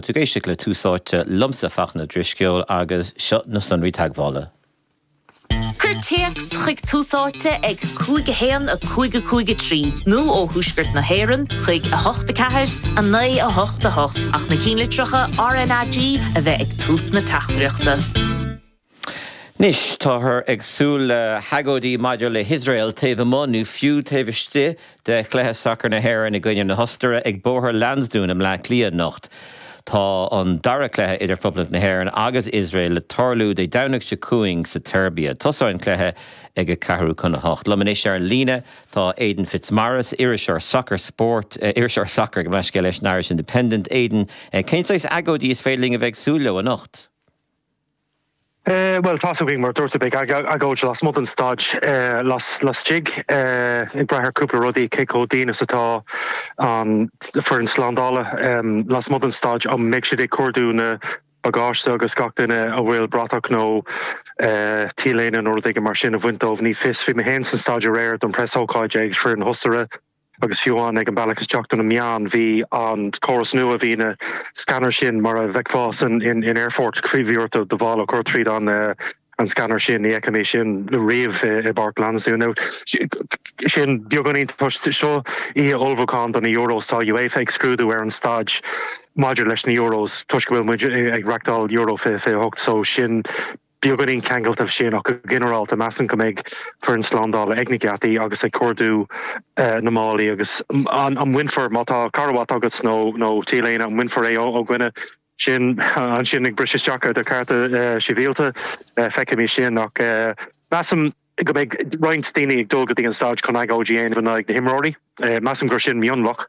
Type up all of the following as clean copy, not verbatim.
Tú ag éisteacht le Tús Áite liomsa, Fachtna Ó Drisceoil, agus seo na sonraí teagmhála. Cuir téacs chuig Tús Áite ag 5 1 5 5 3 nó ó Thuaisceart na hÉireann chuig 8 4 9 8 8 ach na cinnlitreacha RnaG a bheith ag tús na teachtaireachta. Anois, táthar ag súil le hagóidí maidir le hIosrael taobh amuigh nó fiú taobh istigh de chluiche sacair na hÉireann i gcoinne na hOstaire ag Bóthar Lansdún i mBleá Cliath anocht. Tá an dara cluiche idir Phoblacht na hÉireann agus Iosrael le tarlú Dé Domhnaigh seo chugainn sa tSeirbia. Tosóidh an cluiche ag a ceathrú chun a hocht. Liom anois ar an líne tá Aidan Fitzmaurice, iriseoir sacair spóirt, iriseoir sacair, gabh mo leithscéal, leis an Irish Independent. Aidan, cén saghas agóidí is féidir linn a bheith ag súil leo anocht? Bhuel, tá's againn, mar a dúirt tú, beidh agóid lasmuigh den staid laistigh, ag brath ar cúpla rudaí, cé chomh dian is atá an foireann slándála lasmuigh den staid, an mbeidh siad ag cuardú na bagáiste agus gach duine a bhfuil bratach nó T-léine nó rud éigin mar sin a bhaint dóibh, ní fios. Bhí mé féin san staid aréir don preasócáid ag foireann na hOstaire. Agus fiú amháin ag an bealach isteach do na meáin, bhí an córas nua, bhí na scanners sin mar a bhfeicfeá san in aerfort, bhí ort do mhála a chur tríd an an scanner sin, ní fheice mé sin riamh i bPáirc Lansdún. Now sin beagáinín toisc seo oíche ullmhúcháin do na Euros, tá UEFA ag scrúdú ar an staid maidir leis na Euros toisc go bhfuil muid ag reachtáil Euro 2028 so sin beagáinín ceangailte leis sin ach go ginearálta measaim go mbeidh foireann slándála ag na geataí agus ag cuardú na málaí agus an mbainfear, má tá carbhat agat nó nó T-léine, an mbainfear é ó dhuine sin ansin ag briseadh isteach ar do chearta sibhialta, feicfimid sin ach measaim go mbeidh roinnt daoine ag dul go dtí an staid chun agóid a dhéanamh in aghaidh na himreoirí. Measaim gur sin mionlach.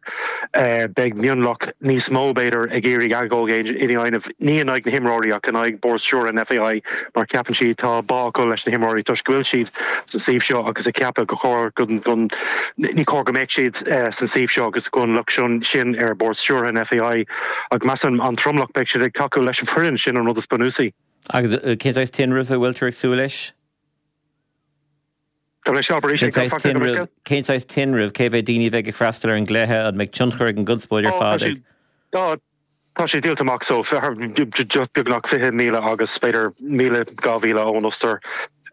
Beidh mionlach níos mó, b'fhéidir, ag iarraidh agóid a dhéanamh, ní in aghaidh na himreoirí ach in aghaidh bord stiúrtha an FAI mar ceapann siad tá bá acu leis na himreoirí toisc go bhfuil siad sa suíomh seo agus ag ceapadh go chóir go ní chóir go mbeadh siad san suíomh seo agus go an locht sin ar bord stiúrtha an FAI. Ach measaim an tromlach beidh siad ag tacú leis an foireann, sin an rud is bunúsaí. Agus cén saghas tinreamh a bhfuiltear ag súil leis? Tá mé seo arís ag Cén saghas tinrimh, cén saghas tinrimh, cé mhéad daoine a bheidh ag freastal ar an gcluiche, an mbeidh tionchar ag an gconspóid ar fad ag. Tá sé díolta amach so beagnach 20,000 agus b'fhéidir 1,000, 2,000 ón Ostair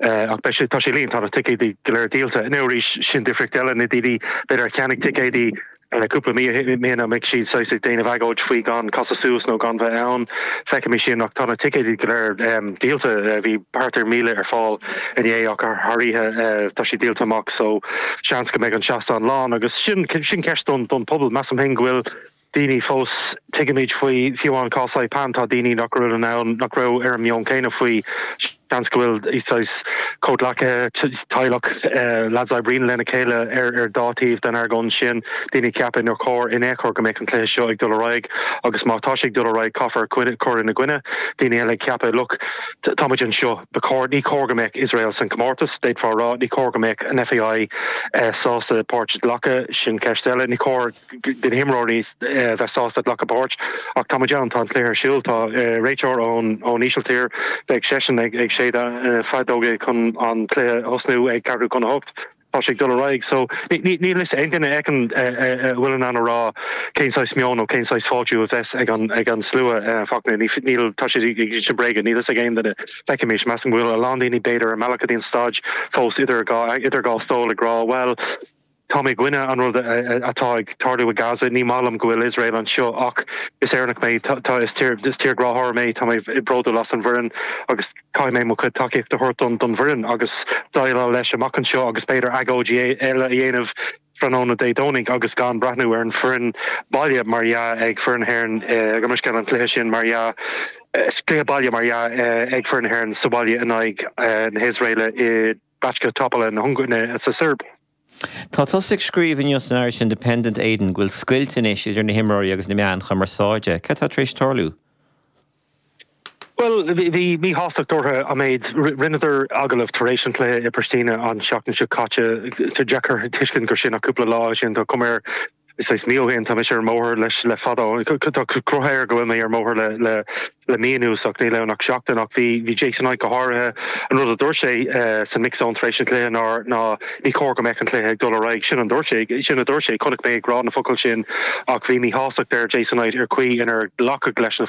ach beidh sé, tá sé líonta, tá na ticéadaí go léir díolta. Now arís, sin difríocht eile, na daoine b'fhéidir a cheannaigh ticéadaí cúpla mí ó shin, an mbeidh siad saghas ag déanamh agóid faoi gan casadh suas nó gan bheith ann? Feicfimid sin ach tá na ticéadaí go léir díolta. Bhí thart ar 1,000 ar fáil inné ach thar oíche tá siad díolta amach so seans go mbeidh an seastán lán agus sin sin ceist don don pobal. Measaim féin go bhfuil daoine fós, tuigimid faoi fiú amháin cás Saipan tá daoine nach raibh in ann nach raibh ar an meon céanna faoi Seans go bhfuil saghas comhghleacaithe, teaghlach, lads a oibríonn lena chéile ar dá taobh den argóint sin, daoine ag ceapadh nár chóir in aon chor go mbeadh an cluiche seo ag dul ar aghaidh agus má tá sé ag dul ar aghaidh caithfear cur ina gcoinne. Daoine eile ag ceapadh look, tá muid anseo, ba chóir, ní chóir go mbeadh Iosrael san comórtas, d'fhéadfá a rá, ní chóir go mbeadh an FAI sásta páirt a ghlacadh, sin ceist eile, ní chóir. do na himreoirí bheith sásta glacadh páirt. Ach tá muid ann, tá an cluiche ar siúl, tá réiteoir ón Ísiltír, beidh seisean ag séideadh na feadóige chun an cluiche a thosnú ag ceathrú chun a hocht. Tá sé ag dul ar aghaidh. So níl fhios aon duine a fheiceann a bhfuil in ann a rá cén saghas meon nó cén saghas fáiltiú a bheas ag an ag an slua Fachtna. Níl, tá siad ag insint bréige, níl fhios ag aon duine. Feicfimis. Measaim go bhfuil a lán daoine b'fhéidir ar an mbealach go dtí an staid fós idir dhá idir dhá stól ag rá bhuel, Tá mé i gcoinne an rud atá ag tarlú i Gaza. Ní maith liom go bhfuil Iosrael anseo ach is Éireannach mé, tá, is tír, is tírghráthóir mé, tá mé bródúil as an bhfoireann agus caithfidh mé mo chuid tacaíochta a thabhairt don bhfoireann agus déileáil leis amach anseo agus b'fhéidir agóidí eile a dhéanamh tráthnóna Dé Domhnaigh agus gan breathnú ar an foireann baile mar dhea ag foireann na hÉireann, gabh mo leithscéal an cluiche sin mar dhea, cluiche baile mar dhea ag foireann na hÉireann sa bhaile in aghaidh na hIosraeile i Bačka Topola na sa tSeirbia. Tá tusa ag scríobh inniu san Irish Independent, Aidan, go bhfuil scoilt anois idir na himreoirí agus na meáin chumarsáide. Cad tá tar éis tarlú? Bhuel, bhí míshástacht orthu an méid. Rinneadar agallamh tar éis an chluiche i Pristina an tseachtain seo caite. Tá deacair tuiscint gur sin ach cúpla lá ó shin. Tá cuma air. Saghas mí ó shin, tá mise ar an mbóthar leis le fada. Tá cruth air go bhfuil mé ar an mbóthar le le le mí anuas ach níl ann ach seachtain. Ach bhí bhí Jason Knight go háirithe, an rud a dúirt sé san mix zone tar éis an chluiche ná ná ní chóir go mbeadh an cluiche ag dul ar aghaidh. Sin an dúirt sé, sin a dúirt sé. Chonaic mé ag rá na focail sin ach bhí míshástacht ar Jason Knight ar chaoi inar glacadh leis na.